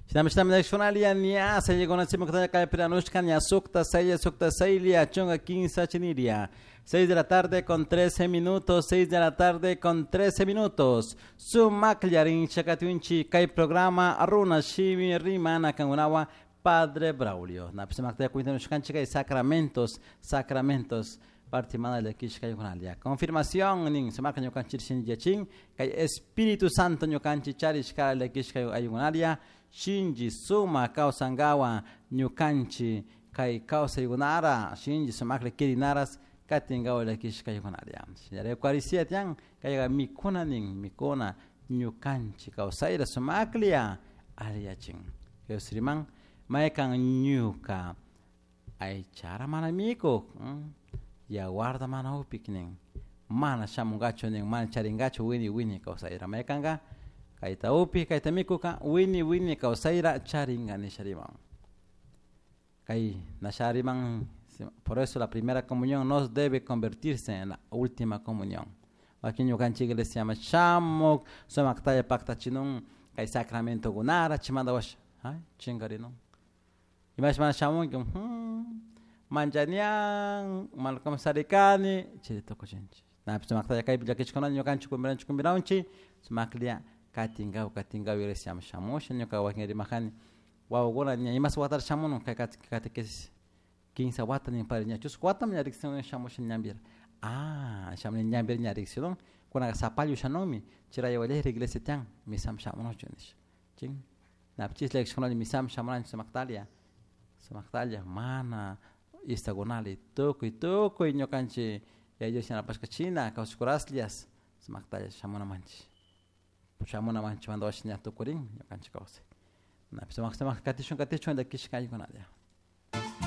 Shinami ña sayllakunachimakta ña sukta saylla sukta saylla chunka kinsa chiniria. 6 de la tarde con 13 minutos, 6 de la tarde con 13 minutos. Sumakllarin chakatiunchi kay programa Runa Shimi Rimana kangunawa Padre Braulio. Napisumakta cuintanushkanchik kay sacramentos, sacramentos. Partimana llakishka. Confirmación nin sumakla ñukanchik shinllachin kay Espíritu Santo ñukanchik charishka llakishka ayunalia shinji suma kawsankawa ñukanchik kay kawsaykunara shinji sumakla kirinaras katinkawa llakishka ayunalia. Señora Eucaristía tian kayqa mikuna nin mikuna ñukanchik kawsayra sumaklia aliyachin. Jesús riman maykan ñuka aychara mana mikuk yawarta mana upik nin mana shamunkachu nin mana charinkachu wini wini kawsayra maykanka kayta upik kayta mikuka wini wini kawsayra charinka nisha riman. Kay nasha riman, por eso la primera comunión no debe convertirse en la última comunión. Wakin ñukanchik iglesia llama shamuk sumaktalla paktachinun kay sacramento kunara chimanta washa ay chinkarinun. Imash mana shamunki manchanian mana komisarikani chay tukuchinchik. Napish sumaktalla kaypi llakishkunata ñukanchik kumbiranchik kumbiranchik sumaklla katinkaw katinkaw iglesia shamusha ñuka wakin rimajani wawakuna ña imas watara shamunun kay catequesis kinsa wata nin padre ña chusku watami ña riksin shamusha ñampira. Ah, shamuni ñampira ña riksidun kunaka sapallo shanunmi chay walejra iglesia tiyan misam shamunuchu nisha chin napish llakishkunalla misam shamunanchik sumaktalla sumaktalla mana istakunali tukuy tukuy ñukanchik Yaya Dios yanapashka china kawsakuraslias sumaktalla shamunamanchik shamunamanchik manda washa ña tukurin ñukanchik kawsay. Napish sumak sumak katishun katishun llakishka aykunalla.